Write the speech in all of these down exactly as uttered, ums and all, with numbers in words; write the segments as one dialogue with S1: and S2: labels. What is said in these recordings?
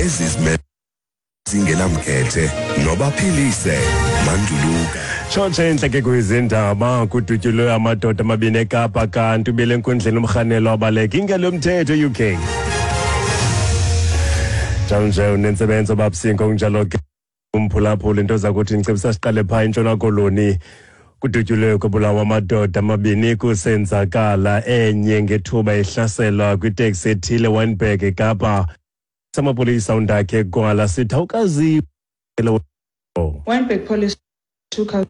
S1: Ezizimele zingenamkhethe nobaphilise Manduluka.
S2: Tshotshe entle ke kwizindaba, kudutyulwe amadoda amabini eKapa kanti ubile enkundleni umrhanelwa wabaleka ingalo yomthetho U K. Njalo nje unentsebenzo babsinko kunjalo ke umphulaphula into zakuthi ndicebisa siqale phaa eNtshona Koloni. Kudutyulwe kubulawa amadoda amabini kusenzakala enye ngethuba ehlaselwa kwiteksi ethile Wynberg eKapa. Samapolisa undakhe Gwala sithi awukazi.
S3: Wynberg police took out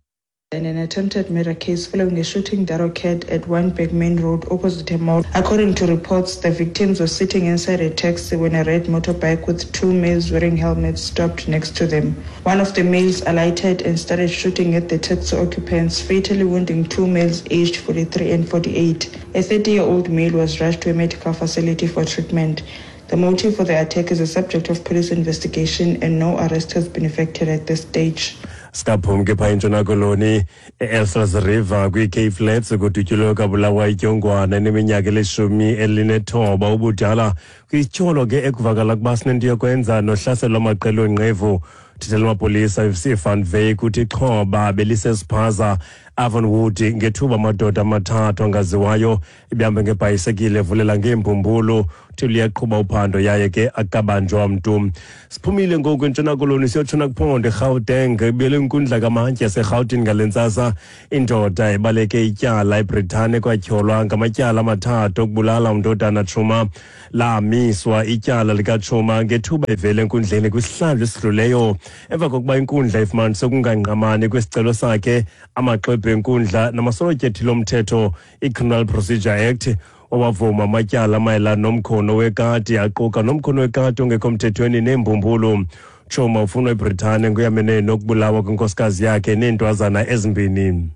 S3: in an attempted murder case following a shooting that occurred at Wynberg Main Road opposite a mall. According to reports, the victims were sitting inside a taxi when a red motorbike with two males wearing helmets stopped next to them. One of the males alighted and started shooting at the taxi occupants, fatally wounding two males aged forty-three and forty-eight. A thirty-year-old male was rushed to a medical facility for treatment. The motive for the attack is a subject of police investigation and no arrest has been effected at this stage.
S2: Sikaphum ke phaa eNtshona Koloni e-Elsies River kwi-Cape Flats kudutyulwe kwabulawa idyongwana eneminyaka elishumi elinethoba ubudala kwityholo ke ekuvakala ukuba sinento yokwenza nohlaselo lwamaqela oonqevu. Uthethela amapolisa F C Van Wyk uthi ixhoba belisesiphaza Avonwood ngethuba amadoda amathathu angaziwayo ibihambe ngebhayisekile evulela ngeembumbulu. Uthi luyaqhuba uphando yaye ke akabanjwa mntu. Siphumile ngoku eNtshona Koloni siyotshona kuphondo eGauteng, ibuyele inkundla kamantyi yaseRhawutini ngale ntsasa. Indoda ebaleke ityala eBritane kwatyholwa ngamatyala amathathu okubulala umndodana Tshuma. Lamiswa ityala likaTshuma ngethuba evele enkundleni kwisihlandlo esidluleyo emva kokuba inkundla ifumanise ukungangqamani kwesicelo sakhe. Amaxwebhu enkundla namasolotyethi lomthetho i-Criminal Procedure Act owavuma amatyala mayelana nomkhono wekati aquka nomkhono wekati ongekho mthethweni neembumbulu. Tshuma ufunwa eBritane nguyamene nokubulawa kwenkosikazi yakhe neentwazana ezimbini.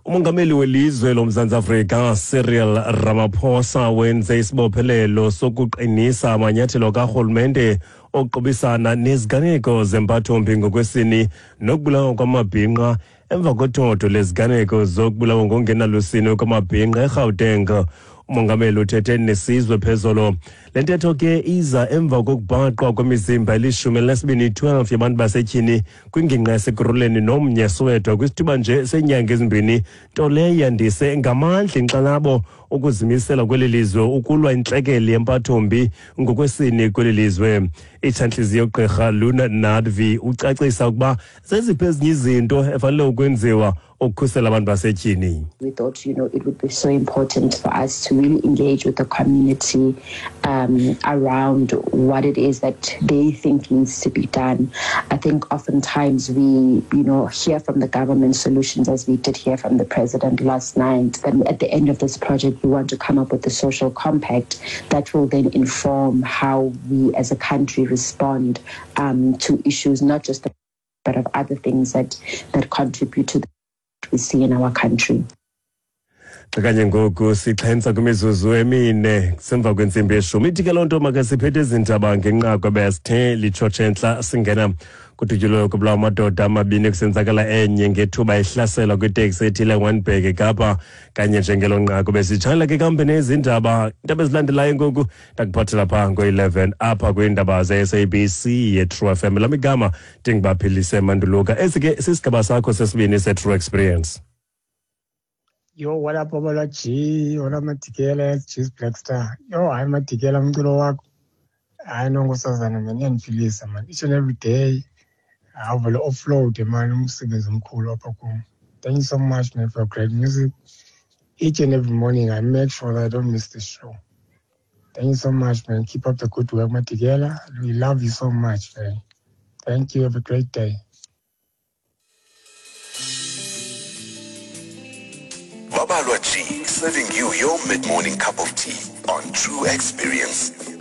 S2: Umongameli welizwe loMzantsi Afrika Cyril Ramaphosa wenze isibophelelo sokuqinisa amanyathelo karhulumente okuqubisana neziganeko zempathombi ngokwesini nokubulawa kwamabhinqa emva kothotho leziganeko zokubulawa ngokungenalusini kwamabhinqa eGauteng. Umongameli uthethe nesizwe phezolo. Le ntetho ke iza emva kokubhaqwa kwemizimba elishumi elinesibini twelve yabantu basetyhini kwingingqi yaseKurhuleni nomnye Soweto kwisithuba nje seenyanga ezimbini, nto leyo yandise ngamandla inkxalabo ukuzimisela kweli lizwe ukulwa intlekele yempathombi ngokwesini kweli lizwe. Itshantliziyo ugqirha Luna Nadvi ucacisa ukuba zeziphi ezinye izinto efanele ukwenziwa ukukhusela abantu basetyhini.
S4: We thought, you know, it would be so important for us to really engage with the community um, around what it is that they think needs to be done. I think oftentimes we, you know, hear from the government solutions, as we did hear from the president last night. That at the end of this project, we want to come up with a social compact that will then inform how we as a country respond um, to issues, not just the, but of other things that, that contribute to the we see in our country.
S2: Kanye ngoku sixhensa kwimizuzu emine semva kwentsimbi yeshumi. Ithi ke loo nto makasiphethe izindaba ngenqaku ebesithe litshotshe entla singena kudutyulwe kubulawa amadoda amabini kusenzakala enye ngethuba ehlaselwa kwiteksi ethile Wynberg eKapa. Kanye njengelo nqaku besitshayela ke kambe nezindaba. Iindaba ezilandelayo ngoku ndakuphathela phaa ngo-eleven apha kwiindaba ze-S A B C ye-True F M. Lam igama ndingubaphilise Manduluka. Esi ke sisigaba sakho sesibini se-True Experience.
S5: Yo, what up, Babalwa G? What up, Matikela, G's Black Star? Yo, hayi Matikela, umculo wakho. Hayi no, nkosazana, man, iyandiphilisa, man. Each and every day, awuvele offload, man, umsebenzi omkhulu apha kum. Thank you so much, man, for great music. Each and every morning, I make sure that I don't miss the show. Thank you so much, man. Keep up the good work, Matikela. We love you so much, man. Thank you. Have a great day.
S1: Babalwa G, serving you your mid-morning cup of tea on True Experience.